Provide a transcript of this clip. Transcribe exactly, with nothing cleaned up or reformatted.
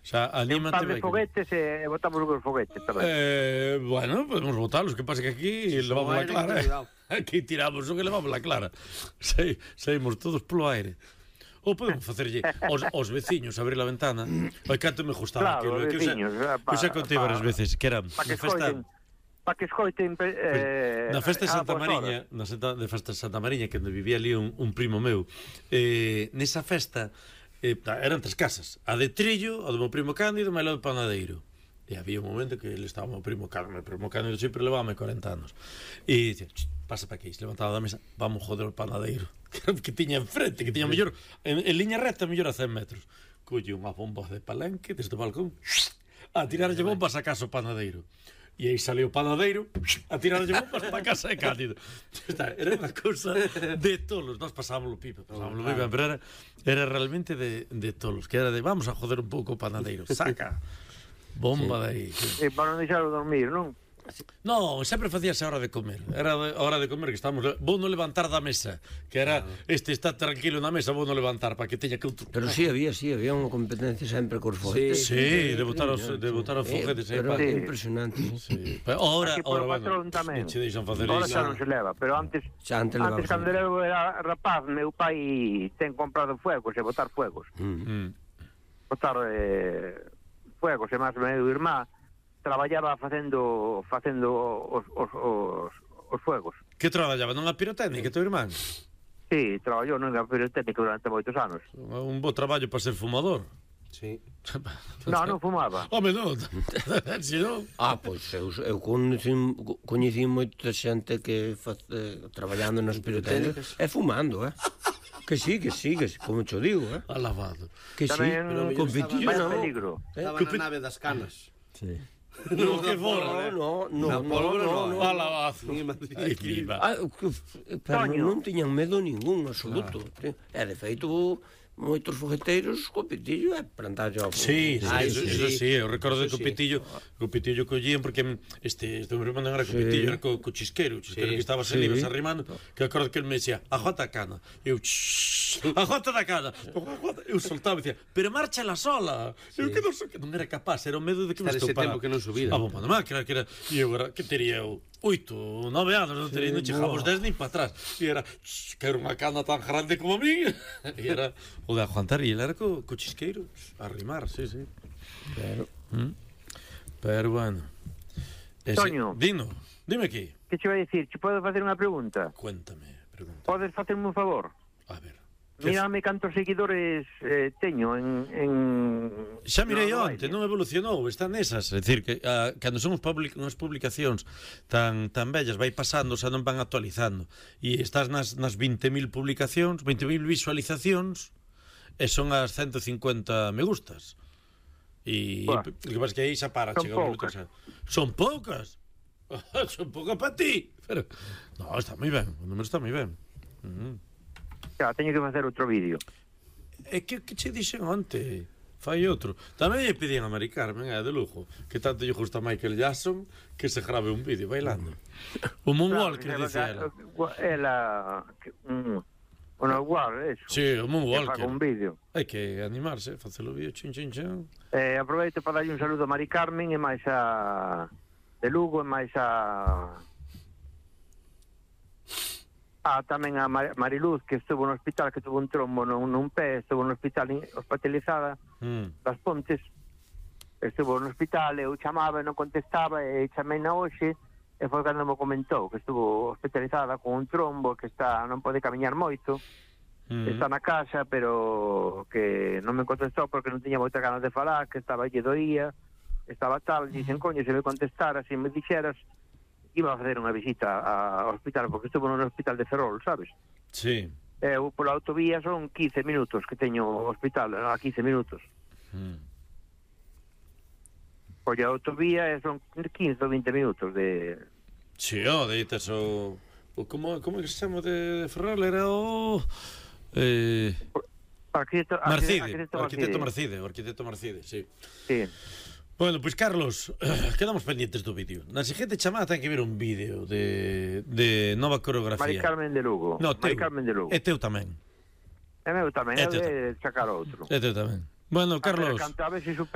sea, anímate. Un par de foguetes e botamos os foguetes tamén. Eh, bueno, podemos botalos, que pasa que aquí sí, levamos la clara. Eh? Aquí tiramos o que levamos la clara. Se, saímos todos polo aire. Ou podemos facerlle os, os veciños abrir a ventana. Ai, canto me gustaba claro, aquilo. Que veciños, eu xa contei varias veces, que era pa que na festa... Para que escoiten... Eh, na festa de Santa Mariña, na festa de festa de Santa Mariña, que onde vivía ali un, un primo meu, eh, nesa festa eh, eran tres casas. A de Trillo, a do meu primo Cándido, e a do Panadeiro. E había un momento que ele estaba o primo Cándido, o primo Cándido sempre levaba corenta anos. E dicía, pasa para aquí, se levantaba da mesa, vamos joder o Panadeiro, que tiña enfrente, que tiña mellor, en, en liña recta, mellor a cen metros. Colle unha bomba de palenque desde o balcón, a tirarlle bombas a casa o Panadeiro. E aí saliu o Panadeiro a tirarlle bombas para a casa de Cándido. Era unha cousa de tolos. Nós pasámoslo pipa, pasámoslo pipa, pero era, era realmente de, de tolos, que era de, vamos a joder un pouco o Panadeiro, saca bomba de aí. E para non deixarlo dormir, non? No, sempre facíase a hora de comer. Era a hora de comer que estamos... Vou non levantar da mesa, que era este está tranquilo na mesa, vou non levantar para que teña que outro... Pero sí había, sí, había unha competencia sempre cos foguetes. Sí, sí, de botar os de botar os foguetes, eh, pero é impresionante. Sí. Pero ahora, ahora bueno, non che deixan facer iso. Ahora xa iso. non se leva, pero antes xa antes, antes cando eu era rapaz, meu pai ten comprado fuegos e botar fuegos. Mm. Botar eh, fuegos, e máis meu irmá traballaba facendo facendo os, os, os, os fuegos. Que traballaba? Non a pirotécnica, teu irmán? Sí, traballou nunha pirotécnica durante moitos anos. Un bo traballo para ser fumador. Sí. Non, non fumaba. Home, non. Si non. Ah, pois eu, eu coñecín, coñecín moita xente que fa, eh, traballando nas pirotécnicas e fumando, eh? Que sí, que sí, que sí, como cho digo, eh? Alabado. Que sí, con pitillo non. Estaba na nave das canas. Sí. No, que forra, no, no, no, no, no, alabazo. Ah, pero non tiñan medo ningún, absoluto. E de feito, moitos fogueteiros co pitillo e plantallo ao... Sí, sí, eso, eso sí, eu recordo que o pitillo, o pitillo collían porque este, este meu irmán non era co pitillo, era co, co chisquero, o chisquero que estaba se libres arrimando, que acordo que ele me decía, a jota cana, eu, a jota da cana, eu soltaba e dicía, pero marcha la sola, eu que non, que non era capaz, era o medo de que me estopara. Ese tempo que non subira. A bomba da máquina, que era, e eu era, que teria eu, oito, nove anos, non teria, non chegamos dez nin para atrás, e era, que era unha cana tan grande como a mí, e era... O de aguantar, e ele era co, co chisqueiro a rimar, sí, sí. Pero, ¿Mm? pero bueno. Ese, Toño. Dino, dime aquí. Que che vai dicir? Che podo facer unha pregunta? Cuéntame, pregunta. Podes facerme un favor? A ver. Mírame cantos seguidores eh, teño en, en... Xa mirei no, onte, non evolucionou, están nesas. É dicir, que a, cando son public, unhas publicacións tan tan bellas, vai pasando, xa non van actualizando. E estás nas, nas veinte mil publicacións, veinte mil visualizacións, e son as ciento cincuenta me gustas. E o que pasa que aí xa para, son chega poucas. Minuto, son poucas. Son poucas para ti. Pero, no, está moi ben, o número está moi ben. Uh -huh. Xa, teño que facer outro vídeo. É que, que che dixen onte? Fai outro. Tamén lle pedían a Mari Carmen, é de lujo, que tanto lle gusta Michael Jackson, que se grabe un vídeo bailando. O Moonwalker, claro, dice ela. Ela... Mm, o Moonwalker, eso. Sí, o Moonwalker. Que faga un vídeo. Hai que animarse, facelo vídeo, chin, chin, chin. Eh, aproveito para darlle un saludo a Mari Carmen e máis a... de Lugo e máis a... Ah, tamén a Mar Mariluz, que estuvo no hospital, que tuvo un trombo nun, nun pé, estuvo no hospital hospitalizada mm. das Pontes, estuvo no hospital, eu chamaba e non contestaba, e chamei na hoxe, e foi cando me comentou que estuvo hospitalizada con un trombo, que está non pode camiñar moito, mm. está na casa, pero que non me contestou porque non tiña moita ganas de falar, que estaba lle doía, estaba tal, dicen, coño, se me contestara, se me dixeras, iba a facer unha visita ao hospital, porque estuvo no hospital de Ferrol, sabes? Sí. Eu, pola autovía, son quince minutos que teño o hospital, a quince minutos. Mm. Pola autovía son quince ou vinte minutos de... Sí, o, de itas o... o como, como é que se chama de, de Ferrol? Era o... Eh... Arquitecto Marcide, arquitecto, arquitecto Marcide, o arquitecto Marcide, sí. Sí. Bueno, pois, pues, Carlos, quedamos pendientes do vídeo. Na seguinte chamada ten que ver un vídeo de, de nova coreografía. Mari Carmen de Lugo. No, teu, Mari Carmen de Lugo. E teu tamén. E meu tamén, é de sacar outro. E teu tamén. Bueno, Carlos... A ver, canta, a ver si